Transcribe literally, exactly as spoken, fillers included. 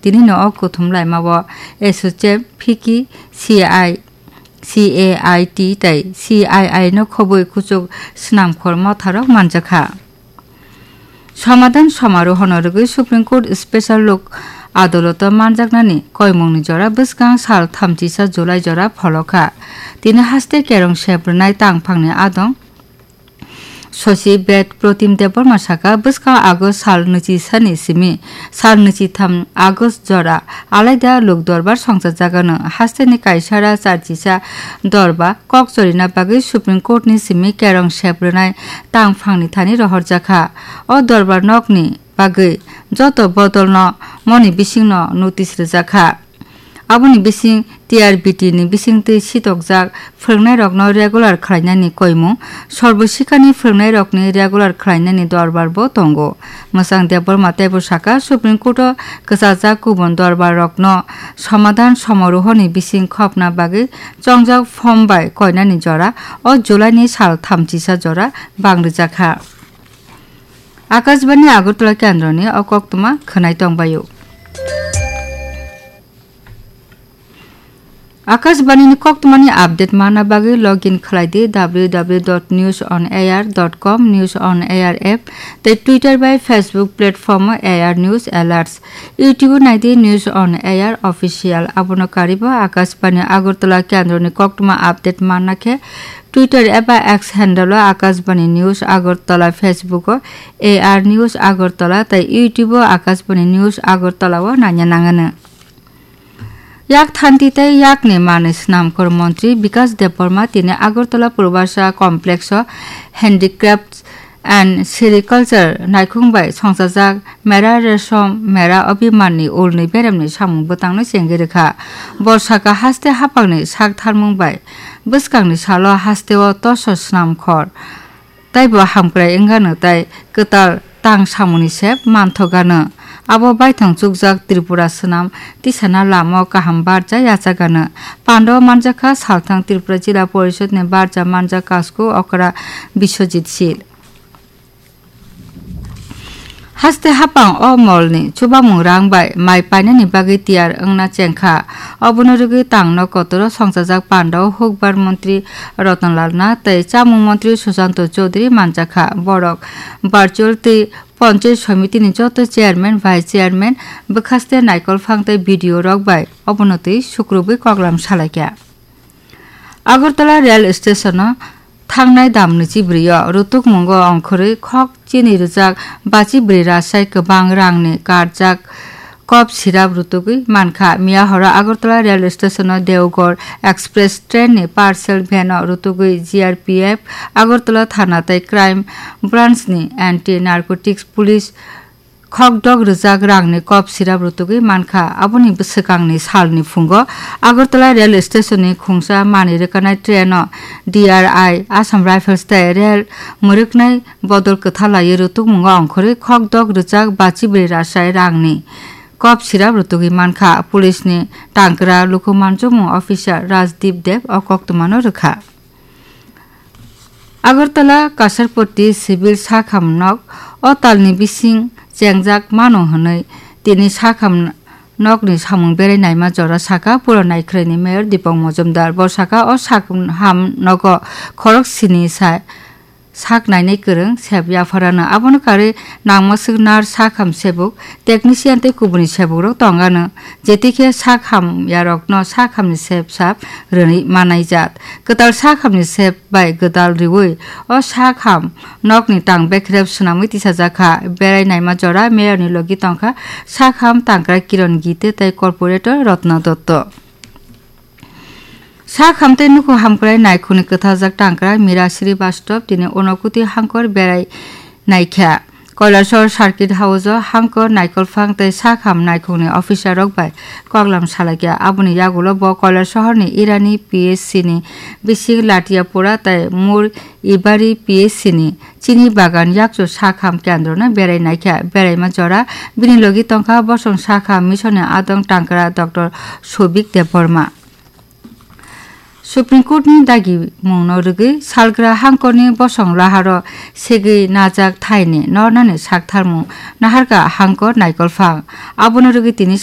Tini no o kuthum laima o S O C M, fiki, C I, C A I T tei C I I no khobwi kuchuk swnamkhor motharok manjakha. Somadhan somarohono rwgwi Supreme Court Special Lok Adaloto manjaknani koimungni jora bwskang sal thamchisa July jora pholokha. Tini haste kerong sep rwnai tangphangni adong Sosi Bed Protim Debbarma saka, bwskang August sal nwichi sani simi sal nwichi tham August jora alaida lok dorbar songchajagano hasteni kaisara charchisa dorba kok chorina bagwi Supreme Court ni simi kerong sep rwnai tangphangni thani rohorjakha. O dorbar nokni bagwi joto bodolno moni bisingno notice rwjakha. Aboni bising T R B T ni bisingtwi sitokjak phwrwngnairokno regular khlainani koimung, Sarbo Shikha ni phwrwngnairokni regular khlainani dorbar bo tongo. Mwchang Debbarma teibo saka, Supreme Court o kwchajak kubun dorbar rokno somadhan somarohoni bising khopna bagwi chongjak form bai koinani jora o July ni sal thamchisa jora bang rwjakha. Akashbani Agartala kendroni o koktwma khwnai tongbaio. Akashbani ni koktwmani update manna bagwi login khlai di W W W dot news on air dot com, News on Air app tei Twitter bai Facebook platform o A R News Alerts. YouTube o nai di News on Air Official. Abono karibo Akashbani Agartala kendroni koktwma update manna khe Twitter eba X handle o Akashbani News Agartala, Facebook o A R News Agartala tei YouTube o Akashbani News Agartala o naina nangano. Yak thanti tei yakni manwi swnamkhor montri Bikash Debbarma tini Agartala Purvasa Complex o Handicrafts and Sericulture naikhung bai songchajak Mera Resham Mera Abhiman ni ulni beremni samung bwtangno chengwi rwkha. Bo saka haste haphangni sak tharmung bai bwskangni salo hasteo toso swnamkhor taibo hamkrai wngano tei kwtal tang samungni sep manthokgano. Abo baithang chukjak Tripura swnam tisana lama o kaham barja yachagano. Pandao manjakha salthang Tripura Jila Porishodni barja manjak Kasku Okra Biswajit Sil. Haste haphang o molni chubamung rang bai mai painani bagwi tiyar wngna chengkha. Obono rwgwi tangno kotoro songchajak pandao hukbar montri Ratan Lal Nath tei chamung montri Susanto Chowdhury manjakha. Borok virtual tei Panchayat Samiti ni joto chairman, vice chairman, bwkhaste naikolphang tei B D O rok bai obono twi sukrubwi koklam salaikha. Agartala rail station o thangnai damni chibrwi o rutukmungo ongkhorwi khok chini rwjak bachi bwrwi rasai kwbang rangni karjak kop sirap rutugwi mankha. Miya horo Agartala rail station o Deoghar express train ni parcel van o rutugwi G R P F Agartala thana tei crime branch ni anti narcotics police khokdok rwjak rangni kop sirap rutugwi mankha. Aboni bwswkangni salni phungo Agartala rail station ni khungsa manwi rwkanai train o D R I, Assam Rifles tei rail mwrwknai bodol kwthalaiwi rutukmungo ongkhorwi khokdok rwjak bachi bwrwi rasai rangni kop sirap rutugwi mankha. Police ni tangkra luku manchukmung officer Rajdeep Deb o koktwmano rwkha. Agartala Kasarpoti Civil Sakham Nok o talni bising chengjak mano hwnwi tini Sakham Nokni samung berai naima jora saka pura naikhwraini Mayor Dipok Mojumdar. Bo saka o Sakham Nogo khorok sini sa sak nainai kwrwng sep yapharano. Abono karwi nangmaswk nurse, sakham sebuk, technician tei kubuni sebukrok tongano. Jetikhe sakham yarokno sakhamni sep sap rwnwi manaijak. Kwtal sakhamni sep bai gwdal riwi o sakham nokni tang bekrep swnamwi tisajakha. Berai naima jora mayorni logi tongkha sakham tangkra Kiron Gite tei corporator Rotna Dotto. Sakham tei nukhu hamkrai naikhungni kwtharjak tangkra Mira Srivastava tini Unokuti hangkor berai naikha. Kailasor Circuit House-o hangkor naikolphang tei sakham naikhungni officer-rok bai koklam salaikha. Aboni yagulo bo Kailasahar-ni Irani P H C-ni bising Latiapura tei Mur Ibari P H C-ni chini bagan yakchu sakham kendrono berai naikha. Beraima jora bini logi tongkha bosong sakham mission-ni adong tangkra Doctor Sobik Debbarma. Supreme Court-ni dagimungno rwgwi salgra hangkorni bosong laharo segwi najak thaini nornani saktharmung naharkha hangkor naikolphang. Abono rwgwi tini